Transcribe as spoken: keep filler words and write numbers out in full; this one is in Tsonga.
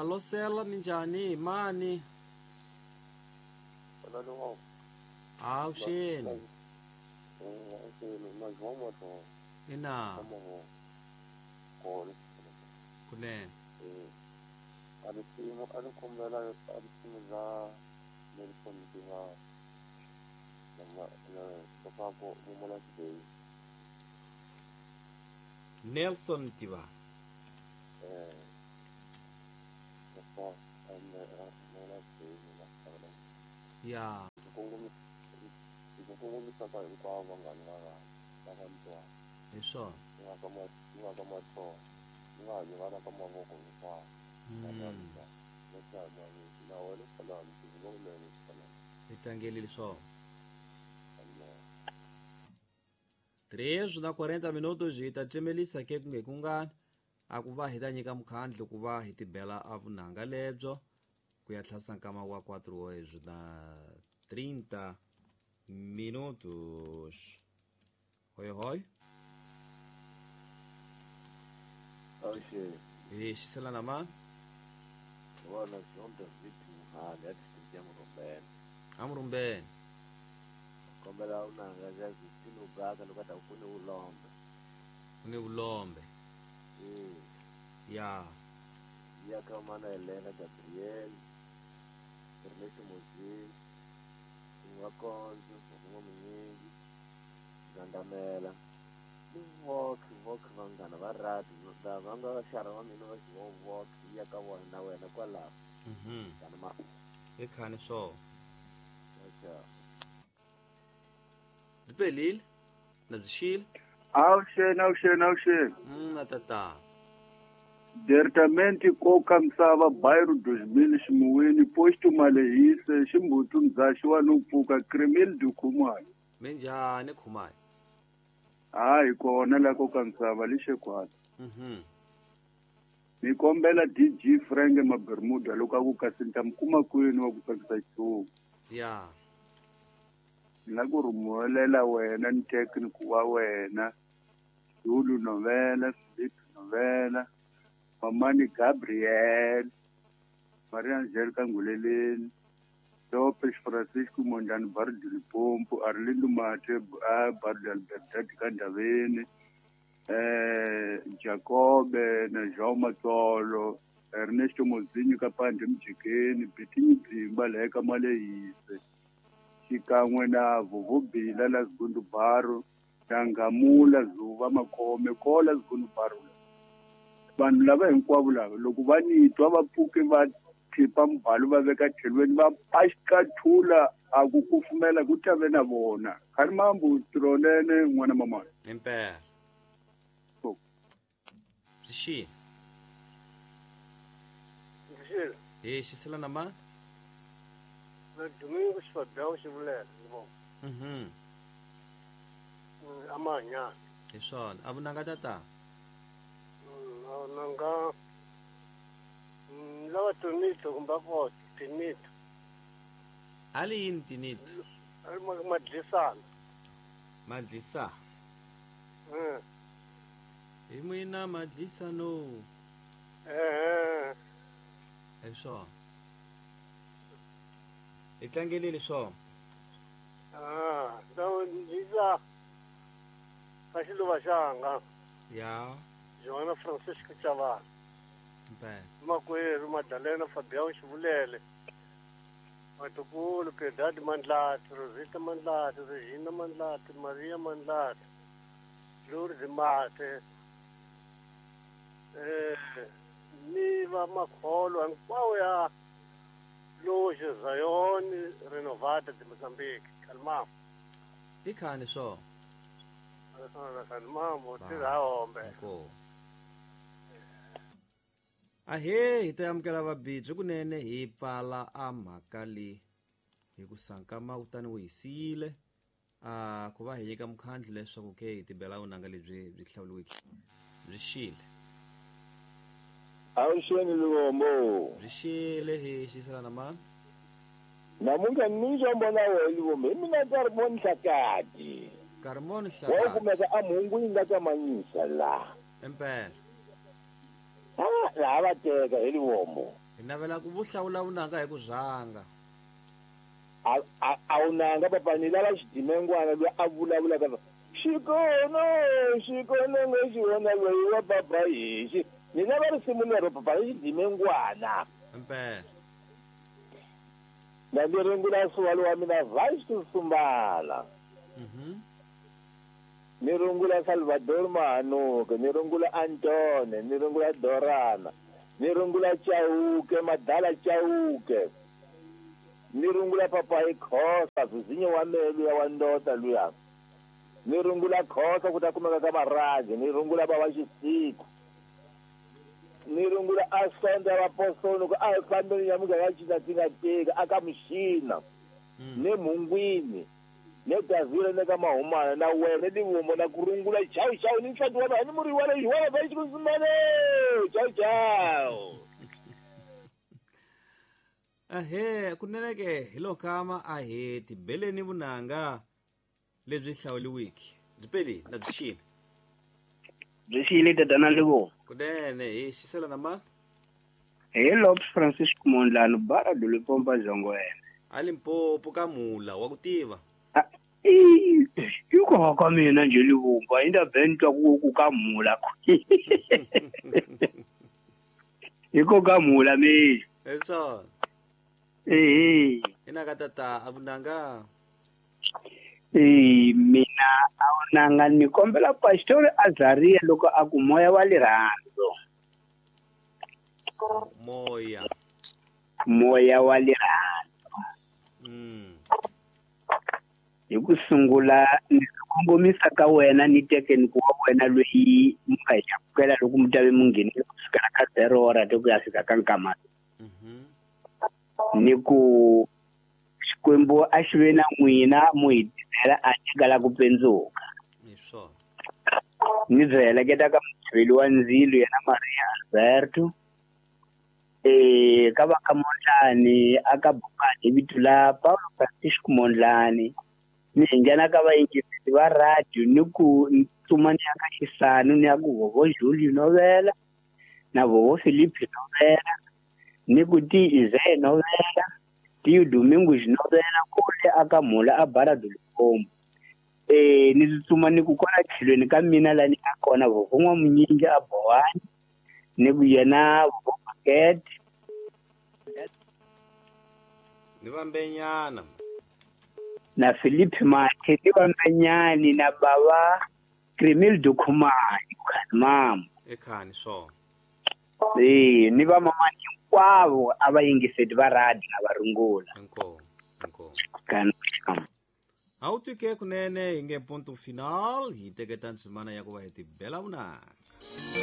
Halosela minjhani mani? Avuxeni. Ina. Kunene. Nelson Tiva. Ya. Hi swona. Hi tlangelile swona. Três na quarenta minutos hi ta cemelisa ke kunge kungani a ku va hi ta nyika mukhandlu ku va hi tibela a vunanga lebyo ku ya tlhasa nkama wa quatro horas na trinta minutos. Hoi hoi. Oxe. E xisela na mano? Bona zonke zithu hali athi Murumbeni. Amurumbeni. Kombela unanga zazithini ubaka lokade ufune ulombe. Ufune ulombe. Mm. Ya. Ya kama na Elena Gabriel. Ernesto Mozini. Wakonzo, ngomunyingi. Zandamela. Vok, vok vangana va rati, va nga va xara wa mina va xi vok ya ka vona na wena kwalaho. Mhm. Kana ma. I khani swo. Acha. Bipelile. Na byi xile. Avuxeni, avuxeni, avuxeni. Mm, na tata. Diretamente koka misava bairro dois mil ximuwini posto Malehise ximbutu mzaxi wa no pfuka Cremil do Khumalo. Minjhani Khumalo? Hayi kona la koka misava lixekwata. Mhm. Ni kombela D G Frank Mabermuda loko a ku kasi ni ta mi kuma kwini wa ku tsakisa xitshungu. Ya. Ni la ku rhumulela wena ni technical wa wena Zulu Novela, Philip Novela, Mamani Gabriel, Maria Angelica Nguleleni, Lopes Francisco Mondlane Barrio de Limpopo, Arlindo Mate, Barrio de Albertati Kandaveni, eh, Jacobe na João Matsolo, Ernesto Mozinho Kapande Mjikeni, Bitinyi Bzimba Leka Malehise, xikan'we na Vuvubila la Zgundu Baro, na Ngamula Zuva Makhome kola Zgundu Baro. Vanhu lava hinkwavo lava loko va ni twa va pfuke va khipa mbhalo va veka tlhelweni va paxikathula a ku kufumela ku tave na vona. Khalimambu tronene n'wana mamana. Impela. Byi xile. Byi xile. Hi xisela na ma? Na Domingo Xifabyawu Xivulela ni Mhm. Amanya. Hi swona. A vunanga tata. Nanga lava tinito kumbe ko tinito. Ali yini tinito? Ali madlisana. Madlisa. Mm. Hi mina madlisa no. Eh. Hi swona. Hi tlangelile swona. Ah, dawo ndza ka xiluva xanga. Ya. Joana Francisco Chavana. Impela. Makwerhu Madalena Fabião Xivulele. Vatukulu Piedade Mandlati, Rosita Mandlati, Regina Mandlati, Maria Mandlati, Lourdes Mate. Eh, ni va makholo hinkwawo ya Loja Zion Renovada de Mozambique. Kalmam. I khani swo. Kalmam, tirha hombe. Inkomu. Ahe hi ta amukela vabidzi kunene hi pfala a mhaka leyi hi ku sankama kutani wu hi siyile a ku va hi nyika mukhandlu leswaku ke hi tibela vunanga lebyi byi hlawuriweke byi xile. Avuxeni Luvombo. Byi xile hi xisela na mani? Namuntlha ni nxombo na wena Luvombo hi mina Karmoni Hlakati. Karmoni Hlakati. Wa kumeka a mhungu yi nga kamanyisa laha. Impela. Ah, laha va teka hi Luvombo. Hi navela ku vuhlawula vunanga hi ku rhanga. A a a wunanga papa ni lava xidimengwana loyi a vulavulaka xikono xikono nge xivona loyi wa papa hixi ni lava risimu lero papa hi xidimengwana. Impela. Na ni rungula suwalo wa mina Vice Sumbala. Mhm. Ni rungula Salvador Mahanuke, ni rungula Antone, ni rungula Dorana, ni rungula Chauke, Madala Chauke. Ni rungula papa hi Khosa, Zizinyo wa melu ya wa ndota luya. Ni rungula Khosa ku ta kumeka ka Maraji, ni rungula baba Xisiku. Ni rungula Asonda wa Posono ku a hi fambeni ya muganga ya China tinga aka Muxina. Ne Mungwini. Ne Gazile ne ka Mahumana na wena Livumba na ku rungula chau chau ni nsati wa vanhu muri wa leyi wa va xikusimane chau chau. Ahe kunene ke hi lokama a hi tibeleni vunanga lebyi hlawuliwiki byi peli na byi xini byi xile tatana Livumba. Kunene hi xisela na mani? Hi Lopes Francisco Mondlane bara Dulipompa Zongwena. A Limpopo ka Mula wa ku tiva. Iko ka mina nje Livumba inda bentwa ku ka Mula. Iko ka Mula me. Eso. Eh. Ina ka tata abunanga. Eh mina awunanga ni kombela Pastor Azaria loko a ku moya wa lirhandzu. Moya. Moya wa lirhandzu. Mm. Hi ku sungula ni kongomisa ka wena ni teke ni ku wa wena loyi mi nga hi amukela loko mi ta ve mi nghenile ku sukela ka zero hora te ku ya fika ka nkama. Mhm. Ni ku Xikwembu a xi ve na n'wina mu hi tisela a nyikela ku pendzuka. Hi swona. Ni byi heleketa ka muchiveli wa ndzilo yena Maria Alberto. Eh ka va ka Mondlane aka Bukani hi vito la Paulo Francisco Mondlane. Ni nghena ka vayingiseri va radio ni ku tsuma ni ya ka Xisanu ni ya ku Vovo Julio Novela na Vovo Felipe Novela ni ku ti Ize Novela ti Domingos Novela kule aka Mula a Bara do Limpopo. Eh ni tsuma ni ku kona tlhelweni ka mina la ni nga kona Vovo N'wamunyingi a Bowani ni ku yena Vovo Paket ni vambenyana na Philippe Mathe ni vambenyani na baba Kremil Dukhumani mama ekhani swona. Eh ni va mama hinkwavo a va yingiseti va radio na va rungula. Inkomu inkomu. Kana A wu twike kunene hi nge ponto final hi teketa ndzimana ya ku va hi tibela vunanga.